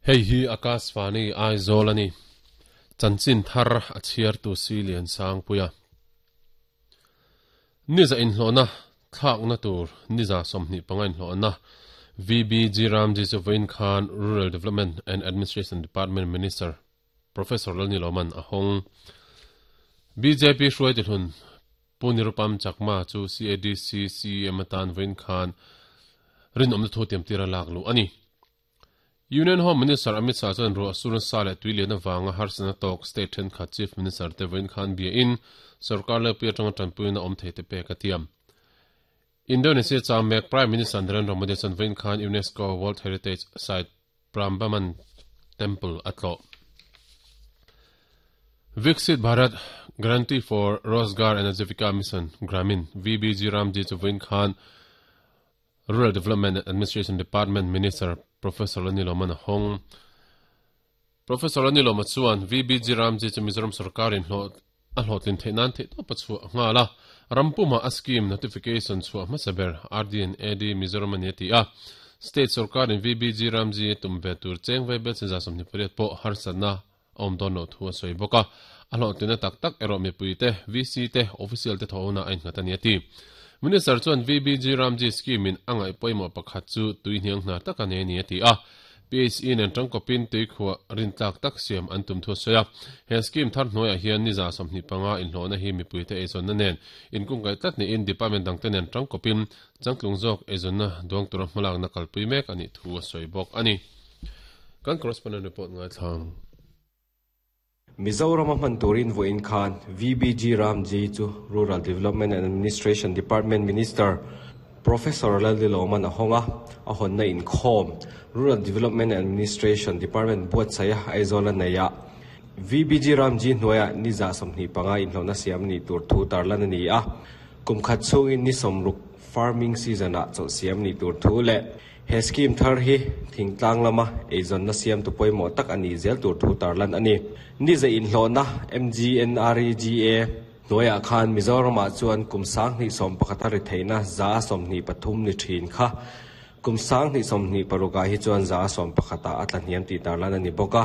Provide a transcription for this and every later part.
Hei hi Akashvani Aizawl a ni. Chanchin thar a chhiartu si Liansangpuia. Niza inhlawhna thlakna tur niza 25 inhlawhna VBG Ramji chu vawiin khan Rural Development and Administration Department Minister Professor Lalniloman a hawng. Bjp hruaitu hlun Pu Nirupam Chakma chu CADC CEM atan vawiin khan rinawmna thu tiamtir a lak luh a ni. Union Home Minister Amit Shah chuan ruah sur nasa leh tui lian avanga harsatna tawk state thenkhat Chief Minister te vawiin khan bia in sorkar lepui atanga tanpuina awm thei te pek a tiam. Indonesia chang mek Prime Minister Narendra Modi chuan vawiin khan UNESCO World Heritage Site Prambanan Temple a tlawh. Viksit Bharat Guarantee for Rozgar and Ajivika Mission, Gramin, VBG Ramji chu vawiin khan Rural Development and Administration Department Minister Professor Laniloman a hawng. Professor Laniloma chuan VBG Ramji chu Mizoram sorkarin hlawh a hlawhtlin theih nan theihtawp a chhuah nghal a, ram pumah a scheme notification chhuah hmasa ber RD and AD Mizoram a ni a ti a. State sorkarin VBG Ramji a tum ve tur cheng vaibel chinza 28 pawh harsatna a awm dawn loh thu a sawi bawk a, a hlawhtlinna tak tak erawh mipui te, VC te, official te thawhna a innghat a ni a ti. Minister chuan VBG Ramji scheme in a ngaih pawimawh pakhat chu tui hniang hnar tak a nei a ni a ti a, PHE nen tangkawpin tuikhuah rintlak tak siam an tum thu a sawi a. He scheme thar hnuaiah hian ni 25 inhlawhna hi mipuite eizawnna nen inkungkaih tlat niin department dangte nen tangkawpin changtlung zawk eizawnna duang tura hmalakna kalpui mek a nih thu a sawi bawk a ni. Kan correspondent report ngaithlang. Mizoram a hman turin vawiin khan VBG Ramji chu Rural Development and Administration Department Minister Professor Lalnilawman a hawng a, a hawnna inkhawm Rural Development and Administration Department buatsaih a Aizawl a nei a. VBG Ramji hnuaiah ni 25 inhlawhna siam nih tur thu tarlan a ni a, kum khat chhungin ni 60 farming season-ah chawlh siam nih tur thu leh He scheme thar hi thingtlang lama eizawnna siamtu pawimawh tak a nih zel tur thu tarlan a ni. Ni zai inhlawhna MGNREGA hnuaiah khan Mizoramah chuan kum 2011 a ri theihna 23% ni thin kha kum 2026 ah hi chuan 11% ah a tla hniam tih tarlan a ni bawk a.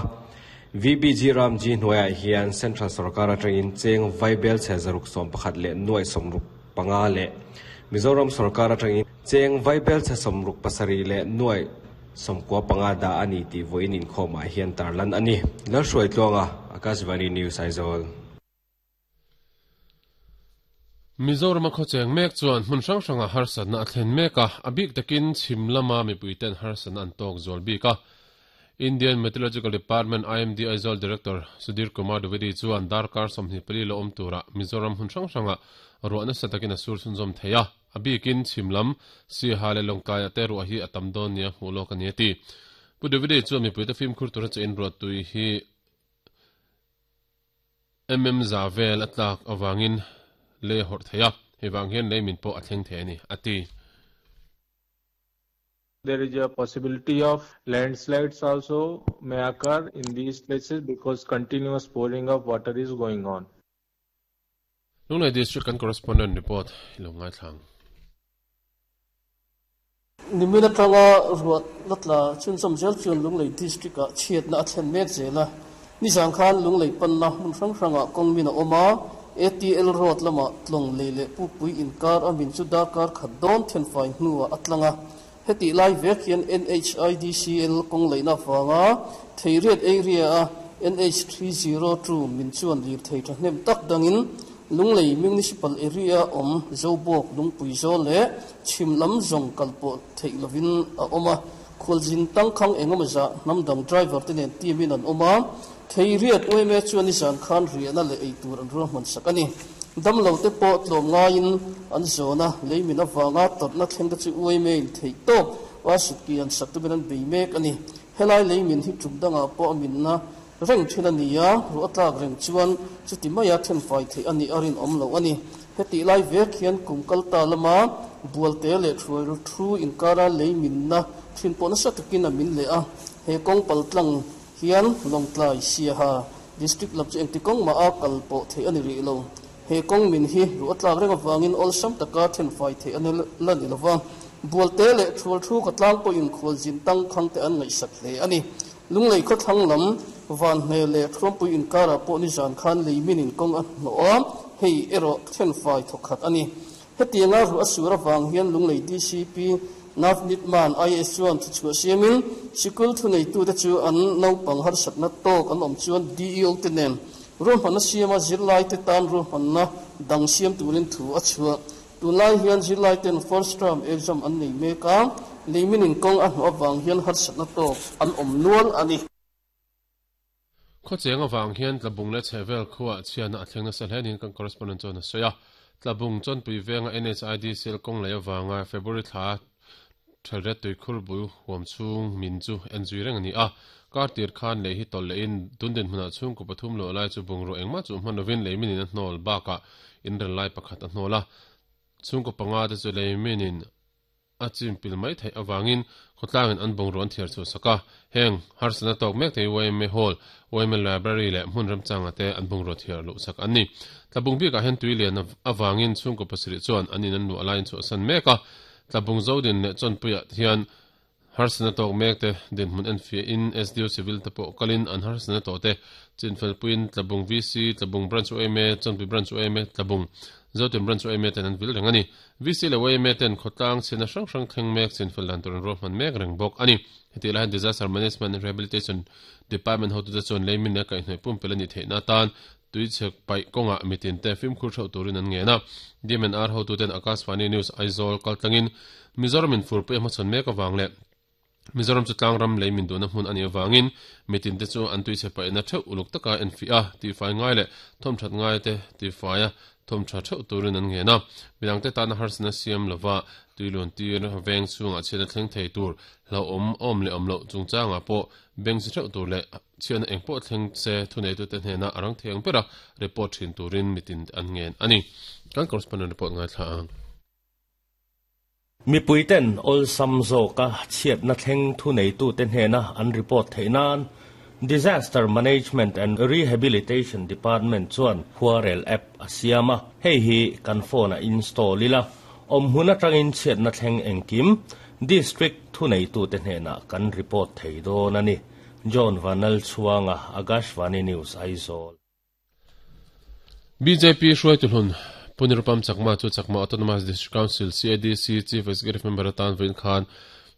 VBG Ramji hnuaiah hian Central sorkar atangin cheng vaibel chhe 611 leh nuai 65 leh Mizoram sorkar atangin Cheng vaibel chhe 67 leh nuai 95 dah a ni tih vawiin inkhawmah hian tarlan a ni. Lalhruaitluanga, Akashvani News, Aizawl. Mizoram a khawcheng mek chuan hmun hrang hrangah harsatna a thlen mek a, a bik takin chhim lama mipuiten harsatna an tawk zual bik a. Indian Meteorological Department, IMD, Aizawl Director Sudhir Kumar Dwivedi chuan darkar 24 la awm turah Mizoram hmun hrang hrangah ruah nasa takin a sur chhunzawm thei a. A bikin chhim lam, Siaha leh Lawngtlaiah te ruah hi a tam dawn nia hmuh lawk a ni a ti. Pu Dwivedi chuan mipuite fimkhur tura che inruattui hi mm za vel a tlak avangin lei a hawrh thei a, hei vang hian lei min pawh a thleng thei a ni, a ti. There is a possibility of landslides also may occur in these places because continuous pouring of water is going on. Lunglei District kan correspondent report i lo ngaithla ang. Nimin atanga ruah la tla chhunzawm zel chuan Lunglei District ah chhiatna a thlen mek zel a. Nizan khan Lunglei panna hmun hrang hrangah kawng min a awm a, ATL Road lamah tlawng lei leh Pukpui inkar a min chu darkar khat dawn thenfai hnuah a tlang a. Hetih lai vek hian NHIDCL kawng leihna avanga Theiriat area a NH302 min chuan lirthei thahnem tak dangin Lunglei Municipal area awm Zobawk Lungpui zawl leh chhim lam zawng kal pawh theih lovin a awm a. Khualzin tangkhang engemaw zah hnam dang driver te nen team in an awm a. Theiriat yma chuan nizan khan riahna leh eitur an ruahman sak a ni. Damlo te pawh tlawm ngaiin an zawn a, lei min avanga tawrhna thleng te chu yma in theih tawp a sutki an sak tumin an bei mek a ni. Helai lei min hi tum dangah pawh a minna reng thin a ni a, ruah tlak reng chuan chuti maia thenfai theih a nih a rinawm loh a ni. Hetih lai vek hian kum kal ta lama bualte leh thuai thu inkara lei minna thin pawh nasa takin a min leh a, he kawng paltlang hian Lawngtlai, Siaha District lam chu engti kawng mah a kal pawh theih a ni rih lo. He kawng min hi ruah tlak reng avangin awlsam taka thenfai theih a ni la ni lova, bualte leh thual thu ka tlang pawhin khualzin tangkhang te an ngaihsak hle a ni. Lunglei khawthlang lam Vanhne leh Thuampui inkarah pawh nizan khan lei minin kawng a hnawh a, hei erawh thenfai thawkhat a ni. Hetianga ruah a sur avang hian Lunglei DCP Navneet Mann IAS chuan thuchhuah siamin sikul thuneitute chu an naupang harsatna tawk an awm chuan DEO te nen ruahmanna siama zirlaite tan ruahmanna dang siam turin thu a chhuah. Tunlai hian zirlaiten first term exam an nei mek a, leiminin kawng a hnawh avang hian harsatna tawk an awm nual a ni. Khawcheng avang hian Tlabung leh chhehvel khuaah chhiatna a thleng nasa hle niin kan correspondent chuan a sawi a. Tlabung Chawnpui venga NHID sel kawng lei avanga February thla Thelret tuikhur bul huam chhung min chu en zui reng a ni a. Kar tir khan lei hi tawlh lehin tun dinhmunah chhungkaw pathum luah lai chu bungraw engmah chu hman lovin lei minin a hnawl bakah inrel lai pakhat a hnawl a. Chhungkaw panga te chu lei minin a chim pil mai theih avangin khawtlangin an bungraw an thiar chhuah sak a. Heng harsatna tawk mek te hi yma Hall, yma Library leh hmun remchanga te an bungraw thiar luh sak an ni. Tlabung bikah hian tui lian avangin chhungkaw pasarih chuan an in an luah laiin chhuahsan mek a. Tlabung Zodin leh Chawnpuiah hian harsatna tawk mek te dinhmun enfiahin SDO Civil te pawh kalin an harsatna tawh te chinfelpuiin Tlabung VC, Tlabung Branch yma, Chawnpui Branch yma, Tlabung Zodin Branch yma ten an vil reng a ni. VC leh yma ten khawtlang chhiatna hrang hrang thleng mek chinfel dan tur an ruahman mek reng bawk a ni. Hetihlai hian Disaster Management and Rehabilitation Department hotute chuan leimin leh kaihhnawih pumpelh a nih theihna atan Tuichhek paih kawngah mitinte fimkhur theuh turin an ngen a. DMNR hotuten Akashvani News Aizawl kaltlangin Mizoramin furpui a hmachhawn mek avang leh Mizoram chu tlangram lei min duhna hmun a nih avangin mitinte chu an tuichhe paihna theuh uluk taka enfiah a, tihfai ngai leh thawmthat ngaite tihfai a thawmtha theuh turin an ngen a. Midangte tana harsatna siam lova tuiluan tir veng chhungah chhiatna thleng thei tur hlauhawm awm leh awm loh chungchangah pawh beng si theuh tur leh Chhiatna eng pawh thleng se thuneitute hnena a rang thei ang bera report thin turin mitin an ngen a ni. Kan correspondent report ngaithla ang. Mipuiten awlsam zawka chhiatna thleng thuneitute hnena an report theih nan Disaster Management and Rehabilitation Department chuan khuarel app a siam a, hei hi kan phone-ah install ila, awmhmun atangin chhiatna thleng engkim District thuneitute hnenah kan report thei dawn a ni. John Vanlalchhuanga, Akashvani News, Aizawl. Bjp hruaitu hlun Pu Nirupam Chakma chu Chakma Autonomous District Council, CADC, Chief Executive Member atan vawiin khan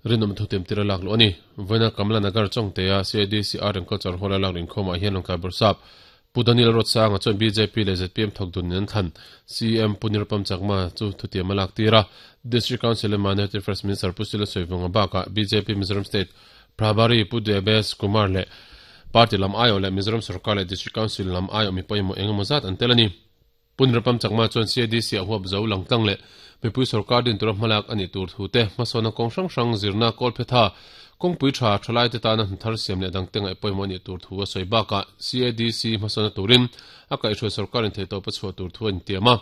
rinawm thutem tir a lak luh a ni. Vawiina Kamla Nagar Chawngtea CADC Art and Culture Hall a lak luh inkhawmah hian Lawngtlai Bawrhsap Pu Daniel Ruatsanga chuan bjp leh zpm thawk dun in an thlan. CM Pu Nirupam Chakma chu thutiam a lak tir a. District Council leh Minority Affairs Minister Pu Sila Sawivunga bakah bjp Mizoram State Prabhari Pu Debesh Kumar leh Party lam aiawh leh Mizoram Sorkar leh District Council lam aiawh mi pawimawh eng emaw zat an tel a ni. Pu Nirupam Chakma chuan CADC ah huap zo lang tlang leh mipui sorkar din tura hmalak a nih tur thu te, hmasawnna kawng hrang hrang zirna kawlphetha, kawngpui tha, thalaite tana hnathar siam leh dangte ngaih pawimawh a nih tur thu a sawi bakah CADC hmasawnna turin a kaihhruai sorkarin theihtawp a chhuah tur thu a intiam a.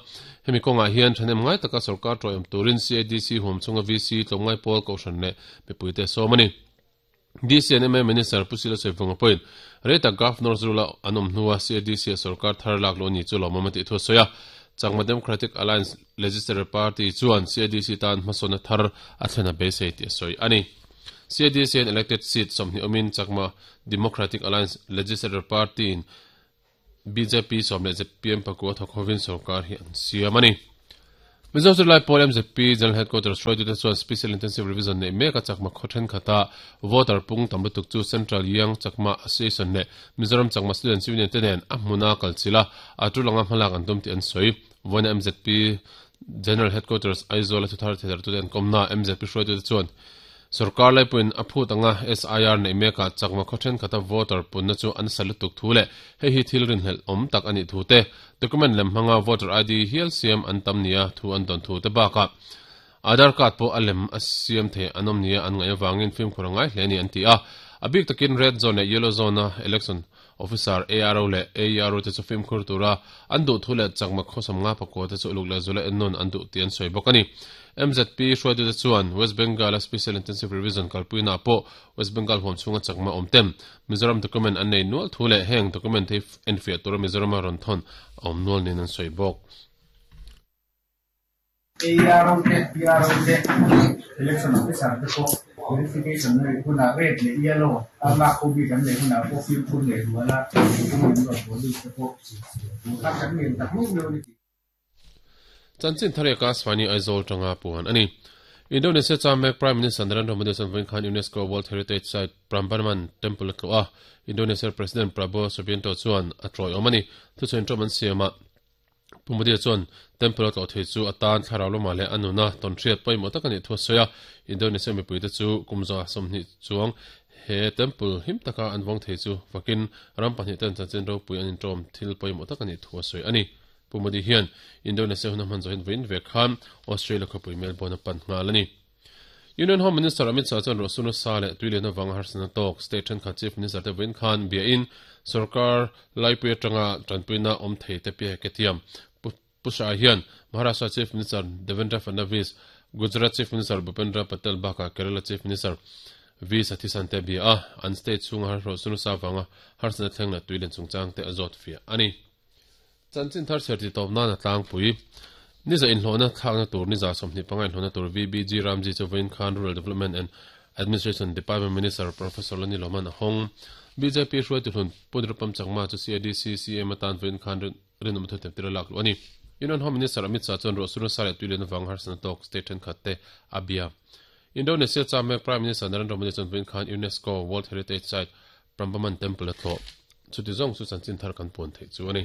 Hemi kawngah hian thahnem ngai taka sorkar tawihawm turin CADC huam chhunga VC tlawmngai pawl kohhran leh mipuite a sawm a ni. DC and MA Minister Pu Sila Sawivunga pawhin rei tak Governor rula an awm hnua CADC a sorkar thar lak luh a ni chu lawmawm a tih thu a sawi a. Chakma Democratic Alliance Legislature Party chuan CADC tan hmasawnna thar a thlen a beisei tih a sawi a ni. CADC hian elected seat 20 awmin Chakma Democratic Alliance Legislature Party-in Bjp sawm leh zpm pakua thawk hovin sorkar hi an siam a ni. Mizo Zirlai Pawl mzp General Headquarters hruaitute chuan Special Intensive Revision neih mek a Chakma khaw thenkhat-a voter pung tam lutuk chu Central Young Chakma Association leh Mizoram Chakma Students Union te nen a hmuna kal chilh a, a tul anga hmalak an tum tih an sawi. Vawiina mzp General Headquarters Aizawl-a thuthar thedartute an kawmna mzp hruaitute chuan Sorkar laipuiin a phut anga SIR neih mekah chakma khaw thenkhat a voter punna chu an sa lutuk thu leh hei hi thil rinhlelh awm tak a nih thu te, document lem hmanga voter ID hial siam an tam nia thu an dawn thu te bakah Aadhaar card pawh a lem a siam thei an awm nia an ngaih avangin fimkhur a ngai hle a ni an ti a. A bik takin red zone leh yellow zone a election officer ARO leh AERO te chu fimkhur tura an duh thu leh chakma khawsam nga pakua te chu uluk leh zula ennawn an duh tih an sawi bawk a ni. MZP hruaitute chuan West Bengal-a Special Intensive Revision kalpuinaah pawh West Bengal huam chhunga chakma awm tem Mizoram document an nei nual thu leh heng document hi enfiah tura Mizorama rawn thawn a awm nual niin an sawi bawk. ARO te, PRO te, Election Officer te pawh. Verification a neih hunah red leh yellow a lak ho bik an neih hunah pawh fimkhur leh zuala mipui an rawn haw lut te pawh kha kan ngen tak meuh meuh a ni tih. Chanchin thar eka Swani Aizawl tanga puan a ni. Indonesia chuan mek Prime Minister Narendra Modi chuan vawiin khan UNESCO World Heritage Site Prambanan Temple a tlawh a, Indonesia President Prabowo Subianto chuan a tlawih awm a ni. Thuchhain ṭawm an siamah Pu Modi chuan Temple a tlawh thei chu a tan thlarau lamah leh a nuna tawnhriat pawimawh tak a nih thu a sawi a, Indonesia mipuite chu kum zawh 20 chuang he temple him taka an vawng thei chu fakin ram pahnihten chanchin ropui an inṭawm thil pawimawh tak a nih thu a sawi a ni. Pu Modi hian Indonesia hun a hman zawhin vawiin ve khan Australia khawpui Melbourne a pan nghal a ni. Union Home Minister Amit Shah chuan ruahsur nasa leh tui lian avanga harsatna tawk state thenkhat Chief Minister te vawiin khan biain sorkar laipui atanga tanpuina awm thei te piah ke thiam. Pu Shah hian Maharashtra Chief Minister Devendra Fadnavis, Gujarat Chief Minister Bhupendra Patel bakah Kerala Chief Minister V Satheesan te bia a, an state chhunga ruahsur nasa avanga harsatna thleng leh tui lian chungchang te a zawt fiah a ni. Chanchin thar chher tih tawp nan a tlangpui. Niza inhlawhna thlakna tur niza 25 inhlawhna tur VBG Ramji chu vawiin khan Rural Development and Administration Department Minister Professor Lani Lawman a hawng. Bjp hruaitu hlun Pu Nirupam Chakma chu CADC CM atan vawiin khan rinawm thu themtir a lak luh a ni. Union Home Minister Amit Shah chuan ruahsur nasa leh tuilian avanga harsatna tawk state thenkhat te a bia. Indonesia cham mek Prime Minister Narendra Modi chuan vawiin khan UNESCO World Heritage Site Prambanan Temple a tlawh. Chuti zawng chu chanchin thar kan puan theih chu a ni.